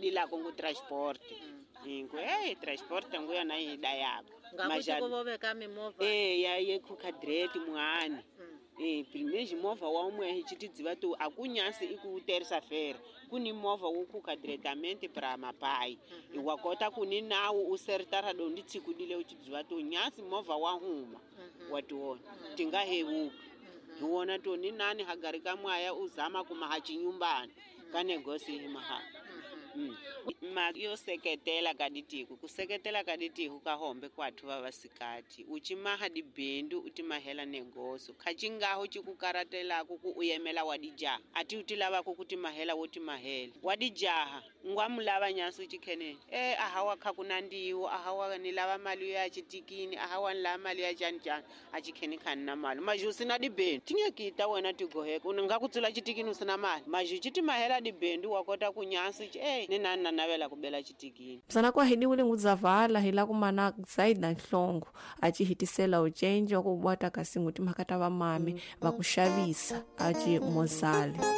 Dilako ngu transport. Ngu hey transport ngu yona yi dayaka. Ngaku vo veka mimovha. Eh ya ye khuka direct muhani. Eh primeiro movha wa umwe hi chitidziva tu akunyasi iku terça-feira kuni movha wo khuka diretamente para mapai. Wa kota kuni nawu u sertara dondi tsikudile uchidziva tu nyasi movha wa huma. Wa tiona tinga hevuka. Hi wona to ni nani hagari ka mwaya u zama kuma ha chinyumbani ka negosi hi maha. Ma yo seketela ka ditiko ku seketela ka ditiko ka hombe kwathu va vasikati u chimaha dibindu u timahela negoso kha chingaho chikukaratelako ku u yemela wa dijaha ati u ti lavako ku timahela wo timahela wa dijaha ngwa mulava nyansi u chikheneni e ahawa kha ku nandiwo ahawa ni lava mali ya chitikini ahawa ni lava mali ya chani chani a chikheni khani na mali mazhu sina dibindu tingekita wena tigoheka u nga ku tsula chitikini u sina mali mazhu chitimahela dibindu wa kota ku nyansi ni nani na navela ku bela chitikini. Msana kwa hidi ule ngudzavala hila kumana zaida nhlongo achi hitisela ucenji wa kubwata kasi nguti makata va mami va ku xavisa achi mozale.